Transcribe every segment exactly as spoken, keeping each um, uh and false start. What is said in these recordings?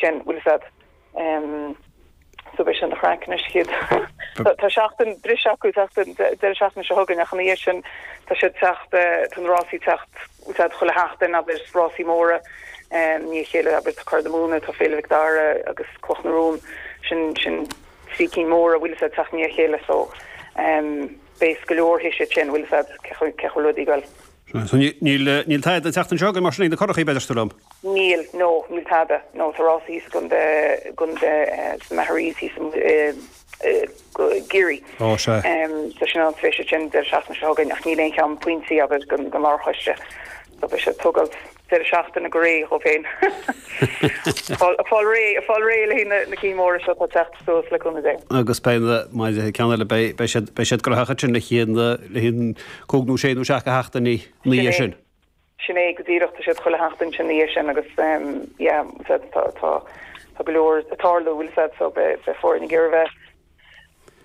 Sin bhfuil fhios a'd. Um, so beidh sin an-chraic anois chéad. Tá seachtain briseadh acu seachtain deireadh seachtaine seo chugainn ach ina dhiaidh sin tá siad teacht tá na rásaí teacht úsáid chuile sheachtain abair rásaí móra um, ní chéile abair tá Curaidh na Mumhan tá Féile Mhic Dara agus Cloch na Rón sin sin trí cinn móra bhfuil fhios a'd teacht ní chéile so um, beidh go leor sé sin bhfuil fhios a'd cé chomh rudaí goil. So níl níl tada an tseachtain seo mar sin na curachaí b'fhéidir liom. Níl no níl tada no tá rásaí gon de gon de Maharis Geary. Ó sé. So sin an tréimhse sin deireadh seachtaine seo chugainn ach níl aon cheann pointí abair gon gon lárchoiste. So beidh sé tógáil deireadh seachtaine go réidh dhó féin. Fáil réidh fáil réidh le na na cinn móra seo tá teacht suas le cúnamh Dé. Agus beidh na ceann eile beidh siad beidh siad graitheach sin le chéad le haghaidh cúig nó sé nó seacht seachtainí ina dhiaidh sin. Sin é go díreach tá siad chuile sheachtain sin ina dhiaidh sin agus yeah, tá tá tá go leor ag tarlú bhfuil fhios a'd so beidh foirne ag iarraidh bheith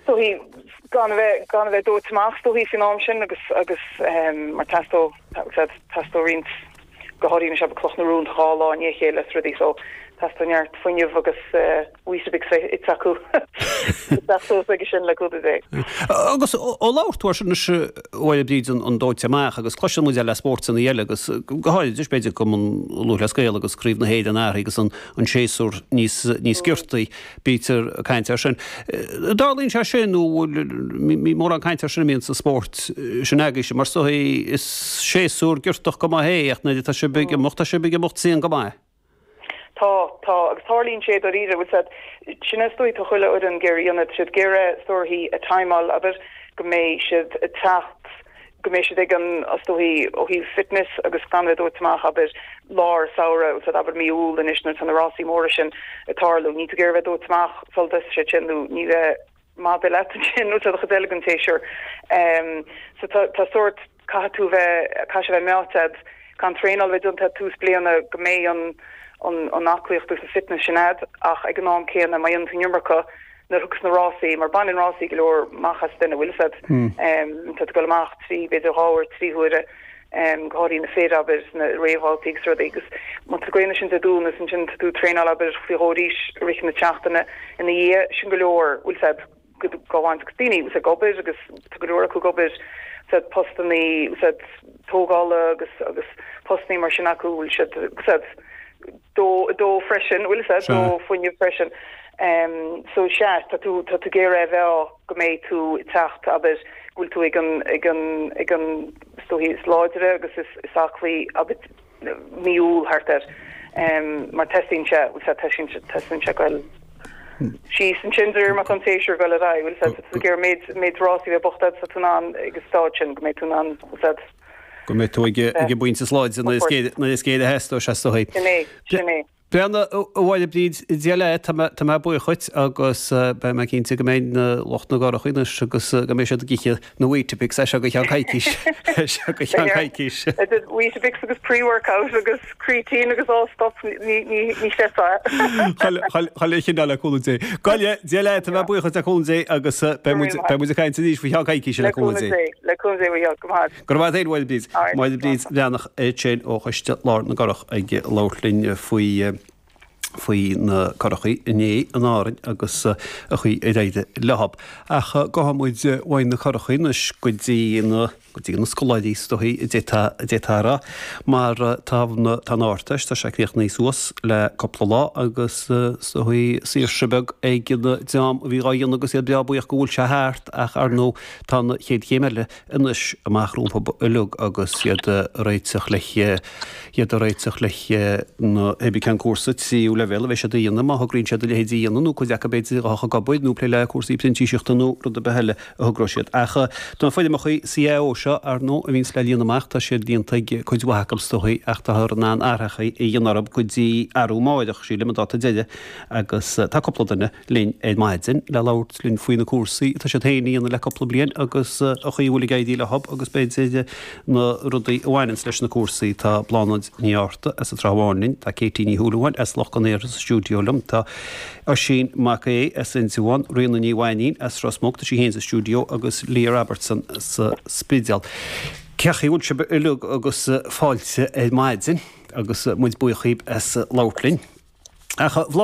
so he gan bheith gan bheith dóite amach so he faoin am sin agus agus um, mar teastóidh teastóidh roinnt go háirithe sé Cloch na Rón dhá lá i ndiaidh a chéile is rudaí so teastóidh neart fuinneamh agus uh, Weetabix ite acu ag sin le cúnamh Dé. Agus ó labhair tú sin bhfuil bríd an dóite amach agus cloiseann muid le spórtanna eile agus go háirithe b'fhéidir Cumann Lúthchleas Gael agus Craobh na hÉireann agus an an séasúr níos níos giortaí bítear caint air sin. Tarlaíonn sé sin nó mórán caint air sin míon sa spórt sin agaibhse mar so is séasúr giortach go maith é ach na tá sé big mocht sé big mocht sin go maith. Tá tá agus tarlaíonn sé dáiríre bhfuil fhios a'd sin is dóigh tá chuile fhoireann ag iarraidh ionad siad ag iarraidh is dóichí a timeáil abair go mbeidh siad ag teacht go mbeidh siad ag an is dóichí ó thaobh fitness agus gan bheith dóite amach abair lár samhradh úsáid abair mí Iúil anois nuair tá na rásaí móra sin ag tarlú ní tú ag iarraidh bheith dóite amach sul sé sin nó ní bheith maith leat sin nó tá chuid eile den tséasúr. Um, so tá tá sort caithfidh tú bheith caithfidh sé bheith meáite gan traenáil bheith déanta tús bliana go mbeidh an an an aclaíocht agus an fitness sin a'd ach ag an am céanna má dhéanann tú an iomarca nuair a thiocfas na rásaí mar baineann rásaí go leor amach as duine bhfuil fhios a'd um, tá tú ag dul amach trí b'fhéidir dhá uair trí huaire um, go háirithe na fir abair na réamhbhabhtaí agus rudaí agus má tá gaine sin de dún is ansin tá tú traenáil abair faoi dhó arís i rith na seachtaine ina dhiaidh sin go leor bhfuil fhios a'd go bhaint agus daoine ús ag obair agus tá go leor acu ag obair said postannaí said tógála agus agus postannaí mar sin acu bhfuil siad said dó dó freisin bhfuil fhios a'd dó fuinneamh freisin um, so sea tá tú tá tú ag iarraidh bheith go mbeidh tú ag teacht abair go bhfuil tú ag an ag an ag an is dóichí is láidre agus is is aclaí abair mí Iúil thart air um, mar teastaíonn sé bhfuil fhios a'd teastaíonn sé teastaíonn sé goil síos ansin de réir mar an séasúr goil ar aghaidh bhfuil fhios a'd tá tú ag iarraidh méid méid rásaí bheith bocht sa tú in ann agus stáid sin go mbeidh tú in ann bhfuil fhios a'd go mbeidh tú ag ag an bpointe is láidre na is géire a theastóidh sé is dóichí. Sin é sin é. Breandán a Mháire Bríd Dia leat tá tá mé buíoch dhuit agus beidh mé cinnte go mbeidh na lucht na gcurachaí anois agus go mbeidh siad ag ithe na Weetabix é seo go cheann coicís seo go cheann coicís. Weetabix agus pre-workout agus creatine agus all stuff ní ní ní chreidfeá. Chuile chineál le cúnamh Dé. Goile Dia leat tá mé buíoch dhuit le cúnamh Dé agus beidh muid beidh muid ag caint arís faoi cheann coicíse le cúnamh Dé. Le cúnamh Dé go maith. Go raibh maith agat Máire Bríd. Máire Bríd Bhreathnach sin ó Choiste Lár na gCurach ag labhairt linn faoi faoi na curachaí inné in Árainn agus a chaoi ar éirigh leo. Ach gabhfaidh muid uaidh na curachaí anois go dtí na go dtí na scoláirí is dóichí a d'fhéadfá a rá mar tá na tá an Ardteist tá sé críochnaithe suas le cúpla lá agus is dóichí saoirse beag ag na dream a bhí á dhéanamh agus iad breá buíoch go bhfuil sé thart ach ar ndóigh tá na chéad chéim eile anois amach rompu uilig agus iad réiteach le iad réiteach le na hébí ceann cúrsa tríú leibhéal a bheidh siad a dhéanamh má thograíonn siad a leithéid a dhéanamh nó cuid acu b'fhéidir a ag obair nó plé le cúrsaí printíseachta nó rud ar bith eile a thogróidh siad. Ach tá foirmeacha CAO seo ar ndóigh a bhíonns le líonadh amach tá siad líonta ag cuid mhaith acu is dóichí ach táthar in ann athrachaí a dhéanamh orthu go dtí arú amárach sílim an dáta deiridh agus tá cúpla duine linn ar maidin le labhairt linn faoi na cúrsaí atá siad féin a dhéanamh le cúpla bliain agus an chaoi a bhfuil ag éirí leo agus b'fhéidir na rudaí a bhaineanns leis na cúrsaí tá Bláthnaid Ní Fhátharta as an Trá Bháin linn, tá Katie Ní Shúilleabháin as Loch Con Aortha sa stiúideo liom, tá Oisín Mac Aodha as Indreabhán, Ríona Ní Mhainín as Ros Muc, tá sí féin sa stiúideo agus Leah Robertson sa Spidéal. Cén chaoi a bhfuil sibh uilig agus fáilte ar maidin agus muid buíoch as labhairt linn. Ach Bhláth